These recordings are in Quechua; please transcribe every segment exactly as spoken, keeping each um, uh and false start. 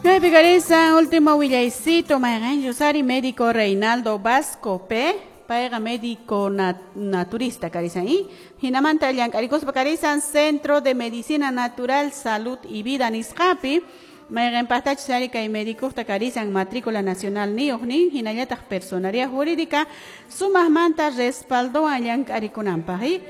Kaypi karisan último willaycito mayqanchus ari médico Reinaldo Vasco P. Payqa médico nat naturista karisan y hinamanta llank'arikuspa karisan Centro de Medicina Natural Salud y Vida nisqapi mayqan paqtachus ari kay médicoqta karisan matrícula nacional niyuq nin hinallataq personería jurídica sumaqmanta respaldowan llank'arikunanpaq y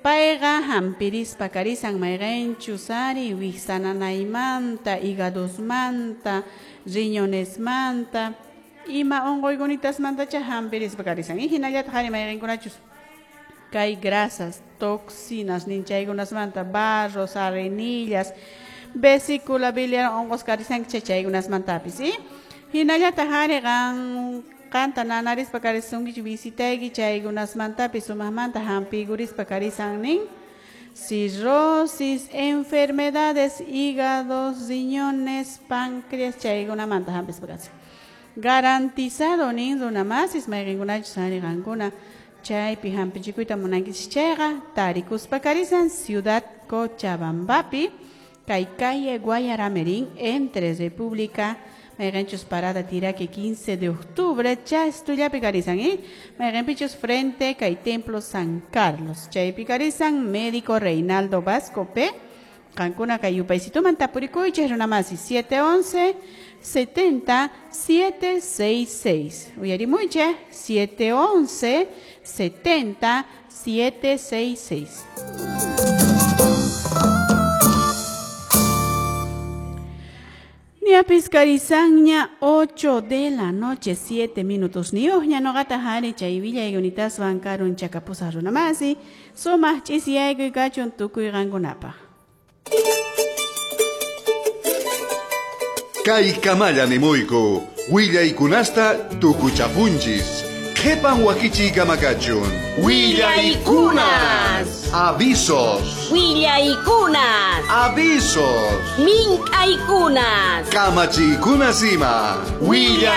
payqa hampirispa karisan mayqanchus ari wiksananaymanta hígadosmanta riñonesmanta ima unquykunitamantacha hampirispa karisan y hinallataq ari mayqankunachus kay grasas, toxinas ninchaykunasmanta barros, arenillas, vesícula biliar unqus karisan chaykunasmantapis y hinallataq ari qan qanta nanarispa karisunkichu visitayki chaykunasmantapis sumaqmanta hampiykurispa karisan nin cirrosis, enfermedades, hígados, riñones, páncreas chaykunamanta hampispa karisan. Garantizado nin runamasis mayqinkunachus ari qankuna chaypi hampichikuyta munankichis chayqa tarikuspa karisan Ciudad Cochabambapi kay calle Guayaramerín entre República mayqanchus parada Tiraque quince de octubre chastullapi karisan ¿eh? Mayqanpichus frente kay Templo San Carlos chaypi karisan médico Reinaldo Vasco P. Qankuna kay yupaysituman tapurikuychis runamasi siete once setenta siete seis seis. Uyarimuychis siete once setenta siete seis seis. Ñapis karisanña ocho de la noche siete minutos niuqña nuqata hari chay willaykunataswan karun chakapusaq runamasi sumaq ch'isiyaykuy kachun tukuy qankunapaq. Kay kamalla nimuyku willaykunasta tukuchapunchis qhipan wakichiy kamakachun willaykunas avisos willaykunas avisos mink'aykunas kamachiykunas ima.